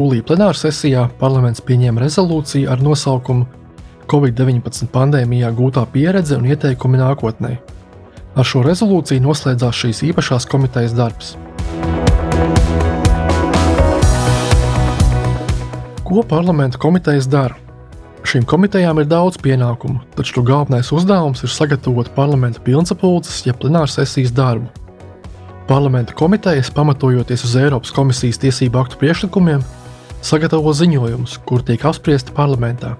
Jūlija plenārsesijā parlaments pieņēma rezolūciju ar nosaukumu Covid-19 pandēmijā gūtā pieredze un ieteikumi nākotnē. Ar šo rezolūciju noslēdzās šīs īpašās komitejas darbs. Ko parlamenta komitejas dara? Šīm komitejām ir daudz pienākumu, taču to galvenais uzdevums ir sagatavot parlamenta pilnsapulces jeb plenārsesijas darbu. Parlamenta komitejas, pamatojoties uz Eiropas komisijas tiesību aktu priekšlikumiem, sagatavo ziņojumus, kur tiek apspriesti parlamentā.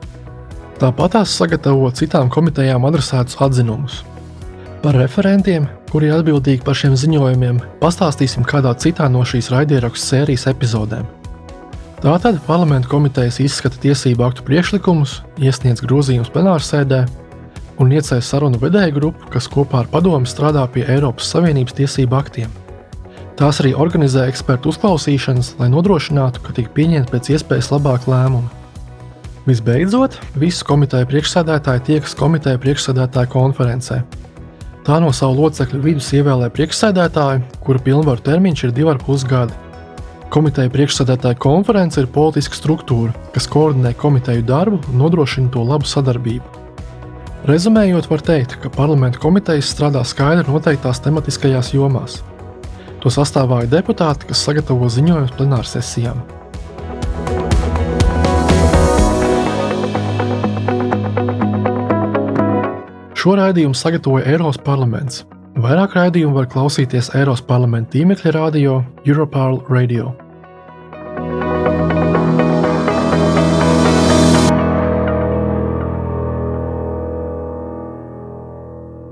Tāpat tās sagatavo citām komitejām adresētus atzinumus. Par referentiem, kuri ir atbildīgi par šiem ziņojumiem, pastāstīsim kādā citā no šīs raidierakstu sērijas epizodēm. Tātad parlamenta komitejas izskata tiesību aktu priekšlikumus, iesniedz grozījumus plenārsēdē un ieceļ sarunu vedēju grupu, kas kopā ar padomi strādā pie Eiropas Savienības tiesību aktiem. Tās arī organizē ekspertu uzklausīšanas, lai nodrošinātu, ka tiek pieņemti pēc iespējas labāk lēmumi. Visbeidzot, visu komiteju priekšsēdētāji tiekas komiteju priekšsēdētāju konferencē. Tā no savu locekļu vidus ievēlē priekšsēdētāju, kura pilnvaru termiņš ir divi ar pus gadi. Komiteju priekšsēdētāju konference ir politiska struktūra, kas koordinē komiteju darbu un nodrošina to labu sadarbību. Rezumējot, var teikt, ka parlamenta komitejas strādā skaidri noteiktās tematiskajās jomās. To sastāvā ir deputāti, kas sagatavo ziņojumus plenārsesijām. Šo raidījumu sagatavoja Eiropas parlaments. Vairāk raidījumu var klausīties Eiropas parlamenta tīmekļa radio Europarl Radio.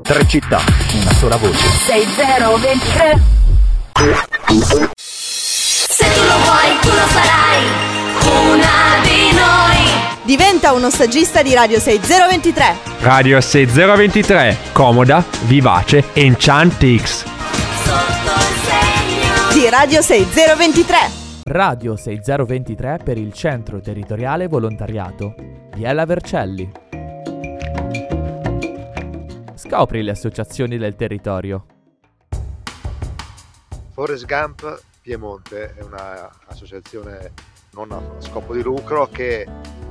Tre città, una sola voce. 6023 Se tu lo vuoi, tu lo sarai Una di noi Diventa uno stagista di Radio 6023. Radio 6023, comoda, vivace, Enchantix. Sotto il segno Di Radio 6023. Radio 6023 per il Centro Territoriale Volontariato. Biella Vercelli. Scopri le associazioni del territorio. Forest Gump Piemonte è un'associazione non a scopo di lucro che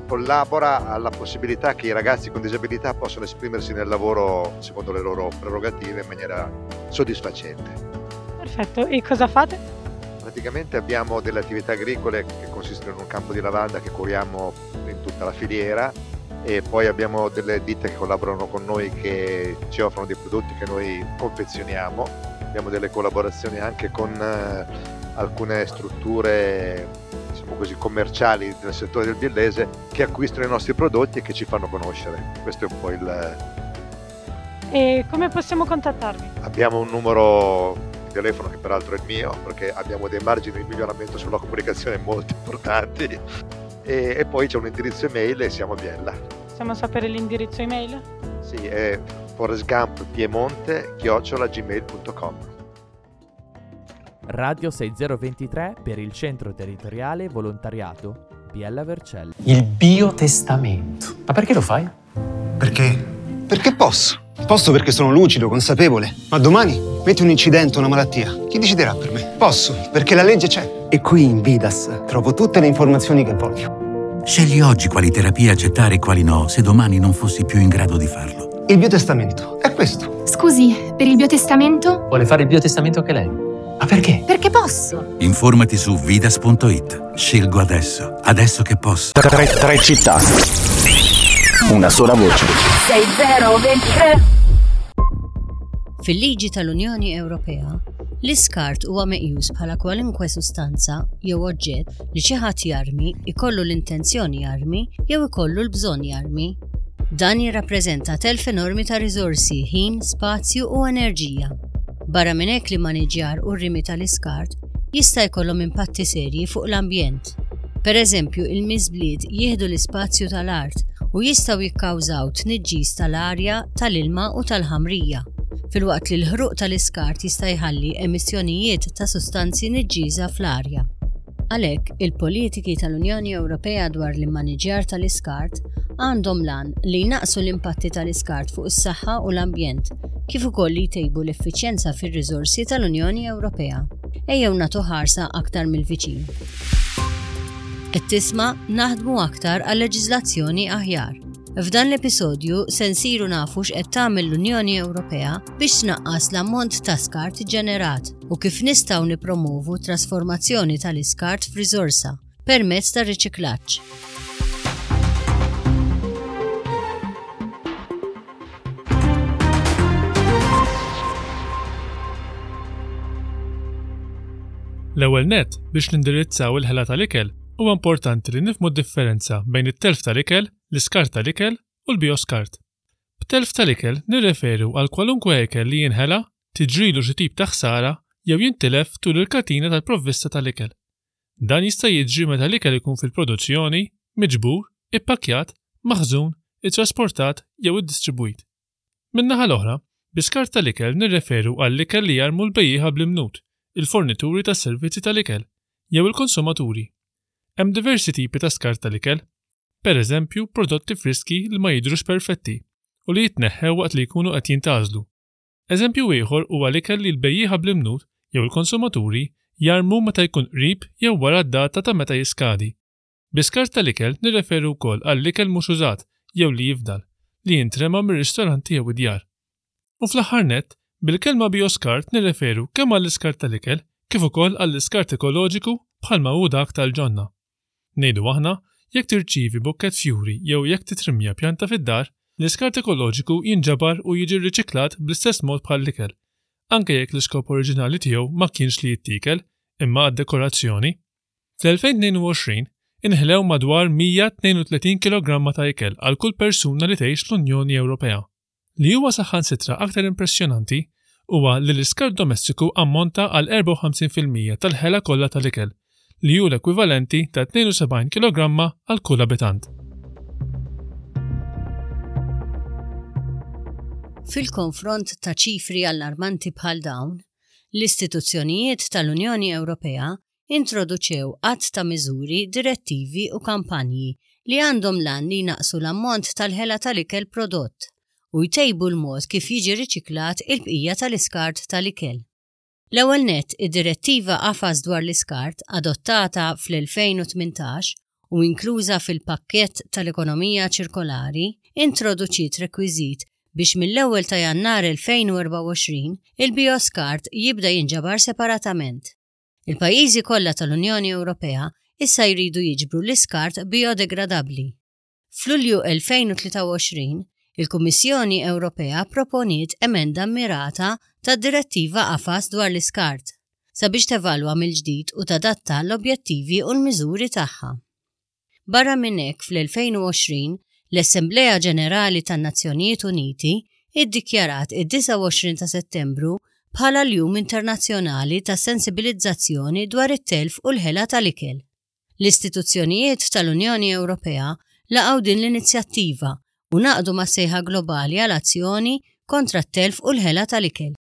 collabora alla possibilità che i ragazzi con disabilità possano esprimersi nel lavoro secondo le loro prerogative in maniera soddisfacente. Perfetto, e cosa fate? Praticamente abbiamo delle attività agricole che consistono in un campo di lavanda che curiamo in tutta la filiera e poi abbiamo delle ditte che collaborano con noi che ci offrono dei prodotti che noi confezioniamo. Abbiamo delle collaborazioni anche con eh, alcune strutture diciamo così, commerciali del settore del biellese che acquistano i nostri prodotti e che ci fanno conoscere. Questo è un po' il... E come possiamo contattarvi? Abbiamo un numero di telefono che peraltro è il mio perché abbiamo dei margini di miglioramento sulla comunicazione molto importanti e, e poi c'è un indirizzo email e siamo a Biella. Possiamo sapere l'indirizzo email? Sì, è forestgumppiemonte@gmail.com. Radio 6023 per il Centro Territoriale Volontariato Biella Vercelli. Il biotestamento. Ma perché lo fai? Perché? Perché posso. Posso perché sono lucido, consapevole. Ma domani metti un incidente o una malattia. Chi deciderà per me? Posso, perché la legge c'è. E qui in Vidas trovo tutte le informazioni che voglio. Scegli oggi quali terapie accettare e quali no, se domani non fossi più in grado di farlo. Il biotestamento è questo. Scusi, per il biotestamento? Vuole fare il biotestamento anche lei? Ma perché? Perché posso. Informati su vidas.it. Scelgo adesso, adesso che posso. Tre, tre città. Una sola voce. 6023 Fil-liġi tal-Unjoni Ewropea, l-iskart huwa meqjus bħala kwalunkwe sustanza jew oġġett li xi ħadd jarmi, ikollu l-intenzjoni jarmi jew ikollu l-bżonn jarmi. Dan jirrappreżenta telf enormi ta' riżorsi, ħin, spazju u enerġija. Barra minn hekk l-immaniġġjar u r-rimi tal-iskart jista' jkollhom impatti serji fuq l-ambjent. Pereżempju, il-miżbliet jieħdu l-ispazju tal-art u jistgħu jikkawżaw tniġġis tal-arja, tal-ilma u tal-ħamrija, filwaqt li l-ħruq tal-iskart jista' jħalli emissjonijiet ta' sustanzi niġġiesa fl-arja. Għalhekk, il-politiki tal-Unjoni Ewropea dwar l-immaniġġjar tal-iskart għandhom l-għan li jnaqqsu l-impatti tal-iskart fuq is-saħħa u l-ambjent, kif ukoll li jtejbu l-effiċjenza fir-riżorsi tal-Unjoni Ewropea. Ejjew nagħtu ħarsa aktar mill-viċin. Qed tisma' Naħdmu aktar għal leġiżlazzjoni aħjar. F'dan l-episodju se nsiru nafu x'qed tagħmel l-Unjoni Ewropea biex tnaqqas l-ammont ta' skart iġġenerat u kif nistgħu nippromovu t-trasformazzjoni tal-iskart f'riżorsa permezz tar-riċiklaġġ. L-ewwel nett, biex nindirizzaw il-ħela tal-ikel, huwa importanti li nifhmu d-differenza bejn it-telf tal-ikel, l-iskart tal-ikel u l-bijoskart. B'telf tal-ikel nirreferu għal kwalunkwe ikel li jinħela, tiġrilu xi tip ta' ħsara jew jintilef tul il-katina tal-provvista tal-ikel. Dan jista' jiġri meta l-ikel ikun fil-produzzjoni, miġbur, ippakkjat, maħżun, ittrasportat jew iddistribwit. Min-naħa l-oħra, bi skart tal-ikel nirreferu għall-ikel li jarmu l-bejjiegħa bl-imnut, il-fornituri tas-servizzi tal-ikel, jew il-konsumaturi. Hemm diversi tipi ta' skart tal-ikel. Pereżempju, prodotti friski li ma jidhrux perfetti u li jitneħħew waqt li jkunu qed jintgħażlu. Eżempju ieħor huwa l-ikel li l-bejjiegħa bl-imnut jew il-konsumaturi jarmu meta jkun qrib jew wara d-data ta' meta jiskadi. Bi skart tal-ikel nirreferu wkoll għall-ikel mhux użat jew li jifdal, li jintrema mir-ristoranti jew id-djar. U fl-aħħar nett, bil-kelma bijoskart nirreferu kemm għall-iskart tal-ikel kif ukoll għall-iskart ekoloġiku bħalma hu dak tal-ġonna. Ngħidu aħna, jekk tirċievi bukkett fjuri jew jekk titrimmja pjanta fid-dar, l-iskart ekoloġiku jinġabar u jiġi rriċiklat bl-istess mod bħall-ikel, anke jekk l-iskop oriġinali tiegħu ma kienx li jittiekel, imma għad-dekorazzjoni. Fl-2022, inħlew madwar 132 kilogramma ta' ikel għal kull persuna li tgħix l-Unjoni Ewropea. Li huwa saħansitra aktar impressjonanti huwa li l-iskart domestiku ammonta għal 54 fil-mija tal-ħela kollha tal-ikel, li hu l-ekwivalenti ta' 72 kilogramma għal kull abitant. Fil-konfront ta' ċifri allarmanti bħal dawn, l-istituzzjonijiet tal-Unjoni Ewropea introduċew għadd ta' miżuri, direttivi u kampanji li għandhom l-għan li jnaqqsu l-ammont tal-ħela tal-ikel prodott u jtejbu l-mod kif jiġi riċiklat il-bqija tal-iskart tal-ikel. L-ewwel nett, id-Direttiva Qafas dwar l-Iskart, adottata fl-2018 u inkluża fil-Pakkett tal-Ekonomija Ċirkolari, introduċiet rekwiżit biex mill-ewwel ta' Jannar 2024 il-bijoskart jibda jinġabar separatament. Il-pajjiżi kollha tal-Unjoni Ewropea issa jridu jiġbru l-iskart bijodegradabbli. F'Lulju 2023, il-Kummissjoni Ewropea pproponiet emenda mmirata tad-Direttiva Qafas dwar l-Iskart sabiex tevalwa mill-ġdid u tadatta l-objettivi u l-miżuri tagħha. Barra minn hekk, fl-2020, l-Assemblea Ġenerali tan-Nazzjonijiet Uniti ddikjarat id-29 ta' Settembru bħala l-Jum Internazzjonali ta' Sensibilizzazzjoni dwar it-Telf u l-Ħela tal-Ikel. L-istituzzjonijiet tal-Unjoni Ewropea laqgħu din l-inizjattiva u ngħaqdu mas-sejħa globali għal azzjoni kontra t-telf u l-ħela tal-ikel.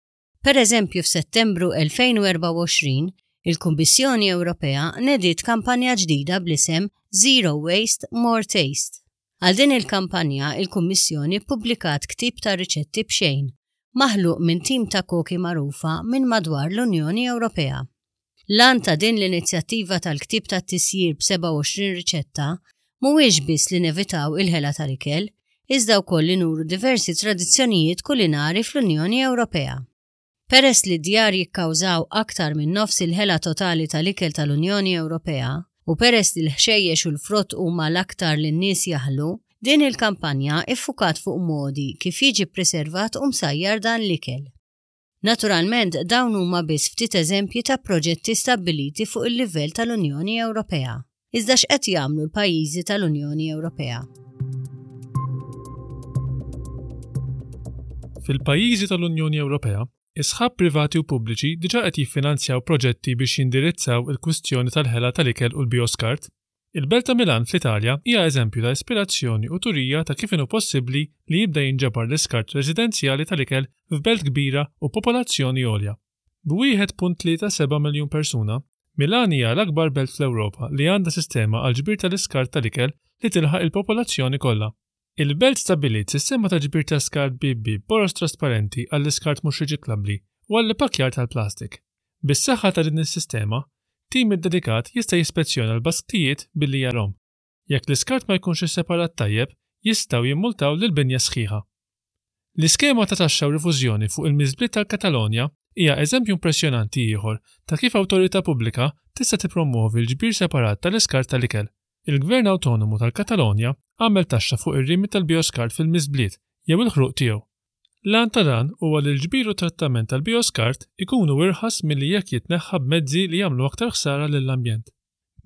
Pereżempju f'Settembru 2024, il-Kummissjoni Ewropea nediet kampanja ġdida bl-isem Zero Waste, More Taste. Għal din il-kampanja, il-Kummissjoni ppubblikat ktieb ta' riċetti b'xejn, maħluq minn tim ta' koki magħrufa minn madwar l-Unjoni Ewropea. L-għan ta' din l-inizjattiva tal-ktieb tat-tisjir b'27 riċetta mhuwiex biss li nevitaw il-ħela tal-ikel, iżda wkoll li nuru diversi tradizzjonijiet kulinari fl-Unjoni Ewropea. Peress li d-djar jikkawżaw aktar minn nofs il-ħela totali tal-ikel tal-Unjoni Ewropea u peress li l-ħxejjex u l-frott huma l-aktar li n-nies jaħlu, din il-kampanja ffukat fuq modi kif jiġi ppriservat u msajjar dan l-ikel. Naturalment, dawn huma biss ftit eżempji ta' proġetti stabbiliti fuq il-livell tal-Unjoni Ewropea. Iżda x'qed jagħmlu l-pajjiżi tal-Unjoni Ewropea? Fil-pajjiżi tal-Unjoni Ewropea, is-sħab privati u pubbliċi diġà qed jiffinanzjaw proġetti biex jindirizzaw il-kwistjoni tal-ħela tal-ikel u l-bijoskart. Il-belt ta' Milan fl-Italja hija eżempju ta' ispirazzjoni u turija ta' kif inhu possibbli li jibda jinġabar l-iskart residenzjali tal-ikel f'belt kbira u b'popolazzjoni għolja. B'1.37 miljun persuna, Milan hija l-akbar belt fl-Ewropa li għandha sistema għall-ġbir tal-iskart tal-ikel li tilħaq il-popolazzjoni kollha. Il-belt stabbiliet sistema ta' ġbir ta' skart bieb bieb boroż trasparenti għall-iskart mhux riċiklabbli u għall-ippakkjar tal-plastik. Bis-saħħa ta' din is-sistema, Tim iddedikat jista' jispezzjona l-basktijiet billi jarahom. Jekk l-iskart ma jkunx isseparat tajjeb, jistgħu jimmultaw lill-binja sħiħa. L-iskema ta' taxxa u rifużjoni fuq il-miżbliet tal-Katalonja hija eżempju impressjonanti ieħor ta' kif awtorità pubblika tista' tippromwovi l-ġbir separat tal-iskart tal-ikel. Il-Gvern Awtonomu tal-Katalonja għamel taxxa fuq ir-rimi tal-bijoskart fil-miżbliet jew il-ħruq tiegħu. L-għan ta' dan huwa li l-ġbir u t-trattament tal-bijoskart ikunu irħas milli jekk jitneħħa b'mezzi li jagħmlu aktar ħsara lill-ambjent.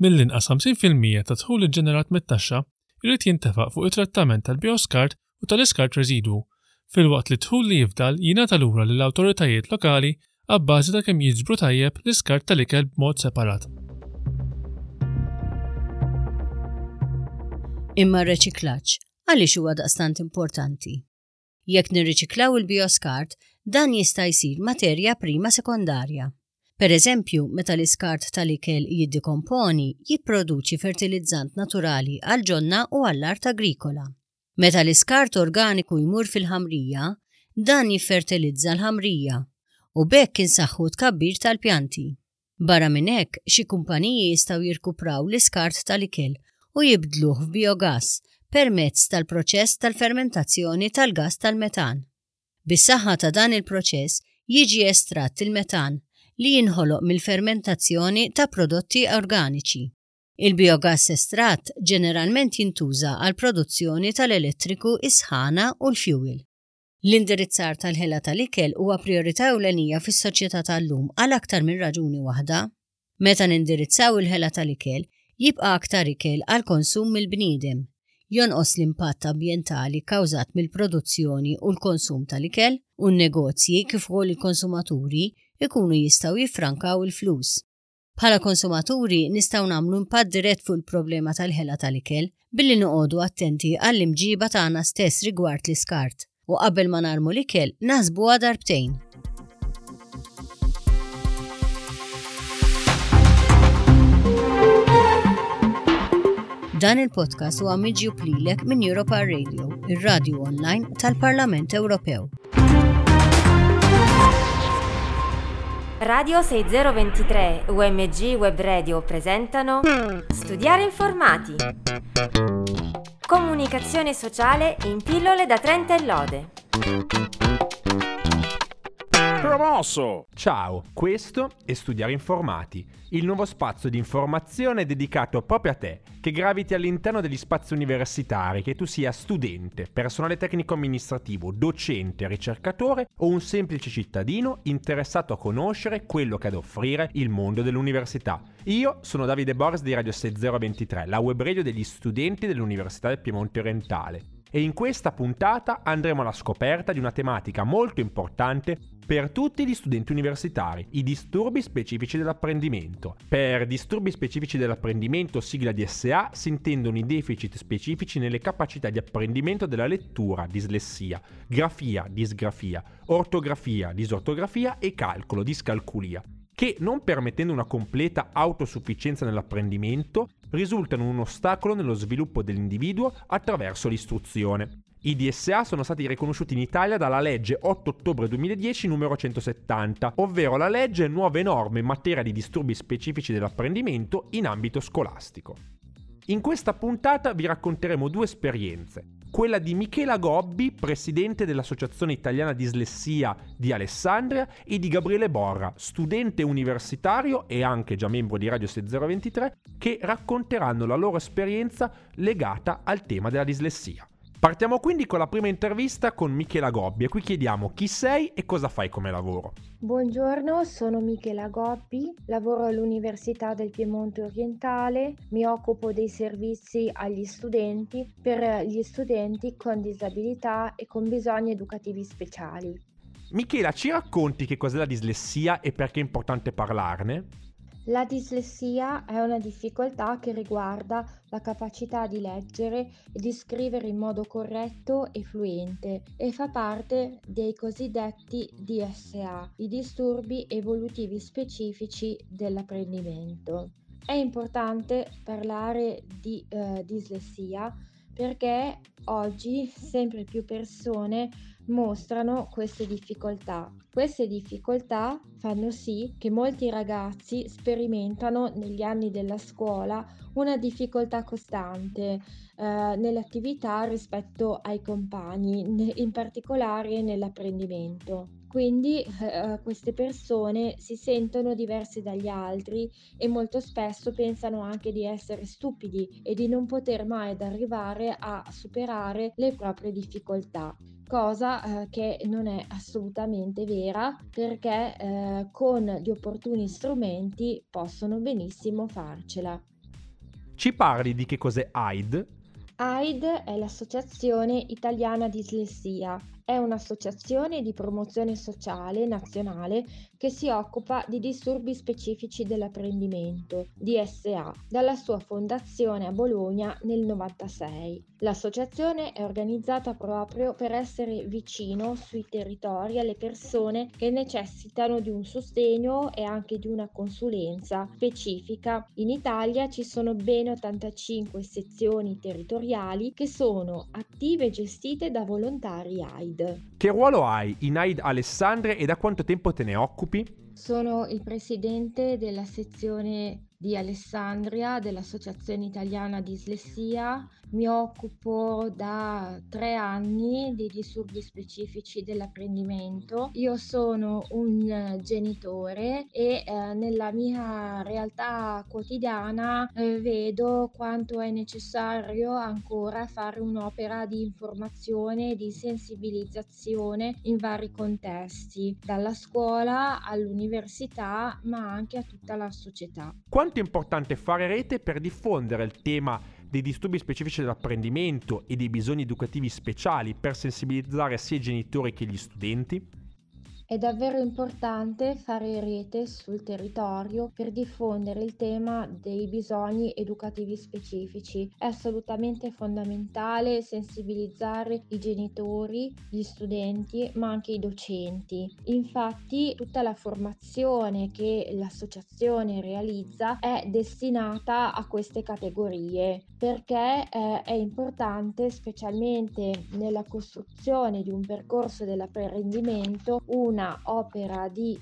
Mill-inqas 50% tad-dħul iġġenerat mit-taxxa jrid jintefaq fuq it-trattament tal-bijoskart u tal-iskart residwu, filwaqt li d-dħul li jifdal jingħata lura lill-awtoritajiet lokali abbażi ta' kemm jiġbru tajjeb l-iskart tal-ikel b'mod separat. Imma r-reċiklaġġ għaliex huwa daqstant importanti? Jekk nirriċiklaw il-bijoskart, dan jista' jsir materja prima sekondarja. Per eżempju, meta l-iskart tal-ikel jiddikomponi, jipproduċi fertilizzant naturali għall-ġonna u għall-art agrikola. Meta l-iskart organiku jmur fil-ħamrija, dan jiffertilizza l-ħamrija, u b'hekk insaħħu t-tkabbir tal-pjanti. Barra minn hekk, xi kumpaniji jistgħu jirkupraw l-iskart tal-ikel u jibdluh f'bijogass permezz tal-proċess tal-fermentazzjoni tal-gass tal-metan. Bis-saħħa ta' dan il-proċess jiġi estratt il-metan li jinħoloq mill-fermentazzjoni ta' prodotti organiċi. Il-bijogass estratt ġeneralment jintuża għall-produzzjoni tal-elettriku, is-sħana u l-fjuwil. L-indirizzar tal-ħela tal-ikel huwa prijorità ewlenija fis-soċjetà tal-lum għal aktar minn raġuni waħda. Meta nindirizzaw il-ħela tal-ikel, jibqa' aktar ikel għall-konsum mill-bniedem, jonqos l-impatt ambjentali kkawżat mill-produzzjoni u l-konsum tal-ikel, u n-negozji kif ukoll il-konsumaturi jkunu jistgħu jiffrankaw il-flus. Bħala konsumaturi nistgħu nagħmlu impatt dirett fuq il-problema tal-ħela tal-ikel billi noqogħdu attenti għall-imġiba tagħna stess rigward l-iskart u qabel ma narmu l-ikel naħsbuha darbtejn. Dan il-podcast huwa miġjub lilek minn Europa Radio, ir-radju online tal-Parlament Ewropew. Radio 6023 UMG Web Radio presentano Studiare Informati. Comunicazione sociale in pillole da 30 e lode. Promosso! Ciao, questo è Studiare Informati, il nuovo spazio di informazione dedicato proprio a te, che graviti all'interno degli spazi universitari, che tu sia studente, personale tecnico amministrativo, docente, ricercatore o un semplice cittadino interessato a conoscere quello che ha da offrire il mondo dell'università. Io sono Davide Boris di Radio 6023, la web radio degli studenti dell'Università del Piemonte Orientale. E in questa puntata andremo alla scoperta di una tematica molto importante per tutti gli studenti universitari, i disturbi specifici dell'apprendimento. Per disturbi specifici dell'apprendimento, sigla DSA, si intendono i deficit specifici nelle capacità di apprendimento della lettura, dislessia, grafia, disgrafia, ortografia, disortografia e calcolo, discalculia, che, non permettendo una completa autosufficienza nell'apprendimento, risultano un ostacolo nello sviluppo dell'individuo attraverso l'istruzione. I DSA sono stati riconosciuti in Italia dalla legge 8 ottobre 2010 numero 170, ovvero la legge Nuove norme in materia di disturbi specifici dell'apprendimento in ambito scolastico. In questa puntata vi racconteremo due esperienze. Quella di Michela Gobbi, presidente dell'Associazione Italiana Dislessia di Alessandria, e di Gabriele Borra, studente universitario e anche già membro di Radio 6023, che racconteranno la loro esperienza legata al tema della dislessia. Partiamo quindi con la prima intervista con Michela Gobbi e qui chiediamo chi sei e cosa fai come lavoro. Buongiorno, sono Michela Gobbi, lavoro all'Università del Piemonte Orientale, mi occupo dei servizi agli studenti per gli studenti con disabilità e con bisogni educativi speciali. Michela, ci racconti che cos'è la dislessia e perché è importante parlarne? La dislessia è una difficoltà che riguarda la capacità di leggere e di scrivere in modo corretto e fluente e fa parte dei cosiddetti DSA, i disturbi evolutivi specifici dell'apprendimento. È importante parlare di dislessia Perché oggi sempre più persone mostrano queste difficoltà. Queste difficoltà fanno sì che molti ragazzi sperimentano negli anni della scuola una difficoltà costante nell'attività rispetto ai compagni, in particolare nell'apprendimento. Quindi queste persone si sentono diverse dagli altri e molto spesso pensano anche di essere stupidi e di non poter mai arrivare a superare le proprie difficoltà, cosa che non è assolutamente vera, perché con gli opportuni strumenti possono benissimo farcela. Ci parli di che cos'è AID? AID è l'Associazione Italiana Dislessia. È un'associazione di promozione sociale nazionale che si occupa di disturbi specifici dell'apprendimento, DSA, dalla sua fondazione a Bologna nel 1996. L'associazione è organizzata proprio per essere vicino sui territori alle persone che necessitano di un sostegno e anche di una consulenza specifica. In Italia ci sono ben 85 sezioni territoriali che sono attive e gestite da volontari AID. Che ruolo hai in AID Alessandria e da quanto tempo te ne occupi? Sono il presidente della sezione di Alessandria dell'Associazione Italiana Dislessia. Mi occupo da 3 anni di disturbi specifici dell'apprendimento. Io sono un genitore e nella mia realtà quotidiana vedo quanto è necessario ancora fare un'opera di informazione e di sensibilizzazione in vari contesti, dalla scuola all'università, ma anche a tutta la società. Quanto è importante fare rete per diffondere il tema dei disturbi specifici dell'apprendimento e dei bisogni educativi speciali per sensibilizzare sia i genitori che gli studenti? È davvero importante fare rete sul territorio per diffondere il tema dei bisogni educativi specifici. È assolutamente fondamentale sensibilizzare i genitori, gli studenti, ma anche i docenti. Infatti, tutta la formazione che l'associazione realizza è destinata a queste categorie, perché è importante, specialmente nella costruzione di un percorso dell'apprendimento, una opera di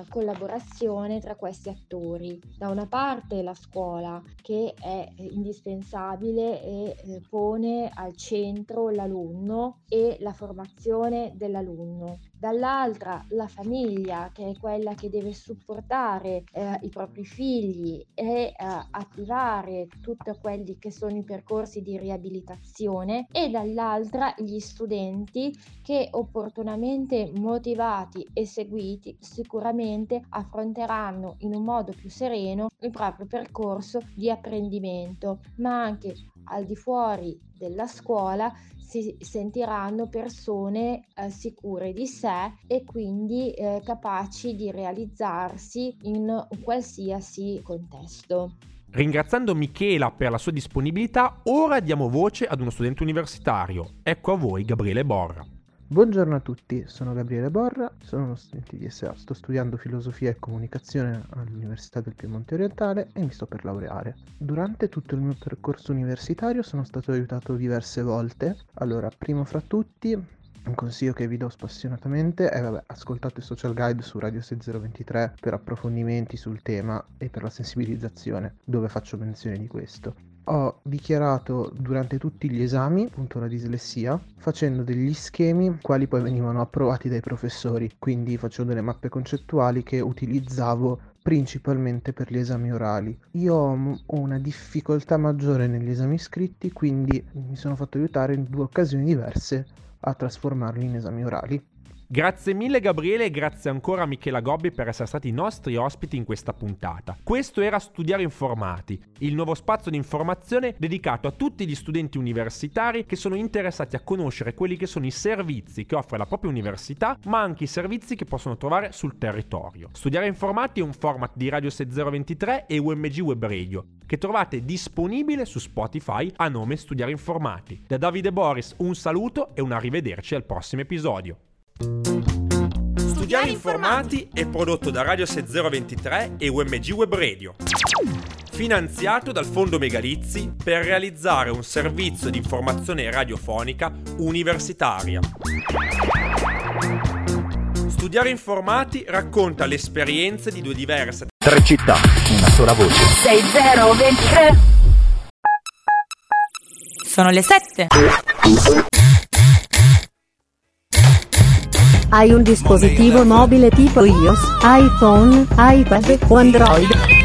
collaborazione tra questi attori. Da una parte la scuola, che è indispensabile e pone al centro l'alunno e la formazione dell'alunno. Dall'altra la famiglia, che è quella che deve supportare i propri figli e attivare tutti quelli che sono i percorsi di riabilitazione, e dall'altra gli studenti che, opportunamente motivati e seguiti, sicuramente affronteranno in un modo più sereno il proprio percorso di apprendimento, ma anche al di fuori della scuola si sentiranno persone sicure di sé e quindi capaci di realizzarsi in qualsiasi contesto. Ringraziando Michela per la sua disponibilità, ora diamo voce ad uno studente universitario. Ecco a voi Gabriele Borra. Buongiorno a tutti, sono Gabriele Borra, sono uno studente di DSA, sto studiando filosofia e comunicazione all'Università del Piemonte Orientale e mi sto per laureare. Durante tutto il mio percorso universitario sono stato aiutato diverse volte. Allora, primo fra tutti, un consiglio che vi do spassionatamente è, ascoltate Social Guide su Radio 6023 per approfondimenti sul tema e per la sensibilizzazione, dove faccio menzione di questo. Ho dichiarato durante tutti gli esami, appunto, la dislessia, facendo degli schemi quali poi venivano approvati dai professori, quindi facevo delle mappe concettuali che utilizzavo principalmente per gli esami orali. Io ho una difficoltà maggiore negli esami scritti, quindi mi sono fatto aiutare in 2 occasioni diverse a trasformarli in esami orali. Grazie mille Gabriele e grazie ancora a Michela Gobbi per essere stati i nostri ospiti in questa puntata. Questo era Studiare Informati, il nuovo spazio di informazione dedicato a tutti gli studenti universitari che sono interessati a conoscere quelli che sono i servizi che offre la propria università, ma anche i servizi che possono trovare sul territorio. Studiare Informati è un format di Radio 6023 e UMG Web Radio, che trovate disponibile su Spotify a nome Studiare Informati. Da Davide Boris un saluto e un arrivederci al prossimo episodio. Studiare Informati è prodotto da Radio 6023 e UMG Web Radio. Finanziato dal Fondo Megalizzi per realizzare un servizio di informazione radiofonica universitaria. Studiare Informati racconta le esperienze di due diverse Tre città, una sola voce. 6023. Sono le 7. Hai un dispositivo mobile tipo iOS, iPhone, iPad o Android?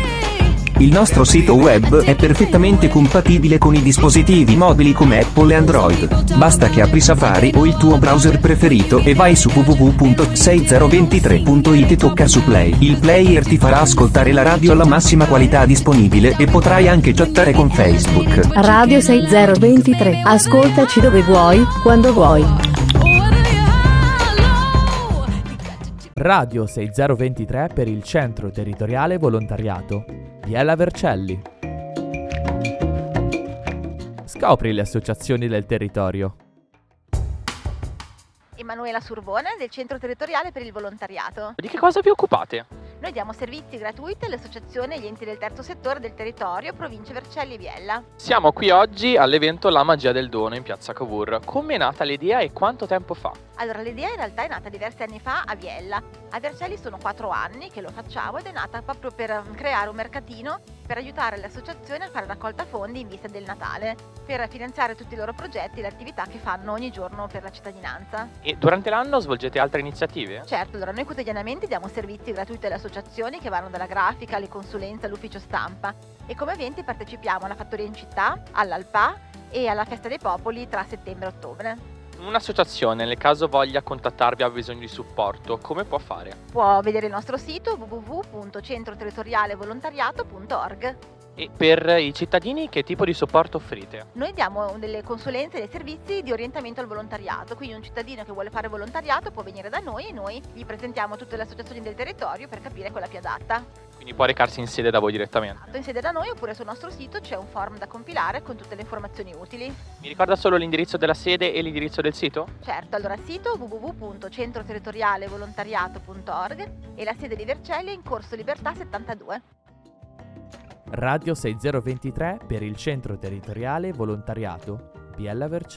Il nostro sito web è perfettamente compatibile con i dispositivi mobili come Apple e Android. Basta che apri Safari o il tuo browser preferito e vai su www.6023.it e tocca su Play. Il player ti farà ascoltare la radio alla massima qualità disponibile e potrai anche chattare con Facebook. Radio 6023. Ascoltaci dove vuoi, quando vuoi. Radio 6023 per il Centro Territoriale Volontariato. Biella Vercelli. Scopri le associazioni del territorio. Emanuela Survone del Centro Territoriale per il Volontariato. Di che cosa vi occupate? Noi diamo servizi gratuiti alle associazioni e agli enti del terzo settore del territorio, provincia Vercelli e Biella. Siamo qui oggi all'evento La magia del dono in piazza Cavour. Come è nata l'idea e quanto tempo fa? Allora, l'idea in realtà è nata diversi anni fa a Biella. A Vercelli sono 4 anni che lo facciamo ed è nata proprio per creare un mercatino per aiutare le associazioni a fare raccolta fondi in vista del Natale, per finanziare tutti i loro progetti e le attività che fanno ogni giorno per la cittadinanza. E durante l'anno svolgete altre iniziative? Certo, allora noi quotidianamente diamo servizi gratuiti alle associazioni che vanno dalla grafica alle consulenze all'ufficio stampa e come eventi partecipiamo alla Fattoria in città, all'Alpa e alla Festa dei Popoli tra settembre e ottobre. Un'associazione, nel caso voglia contattarvi, ha bisogno di supporto, come può fare? Può vedere il nostro sito www.centroterritorialevolontariato.org. E per i cittadini che tipo di supporto offrite? Noi diamo delle consulenze e dei servizi di orientamento al volontariato, quindi un cittadino che vuole fare volontariato può venire da noi e noi gli presentiamo tutte le associazioni del territorio per capire quella più adatta. Quindi può recarsi in sede da voi direttamente. In sede da noi oppure sul nostro sito c'è un form da compilare con tutte le informazioni utili. Mi ricorda solo l'indirizzo della sede e l'indirizzo del sito? Certo, allora sito www.centroterritorialevolontariato.org e la sede di Vercelli è in Corso Libertà 72. Radio 6023 per il Centro Territoriale Volontariato. Biella Vercelli.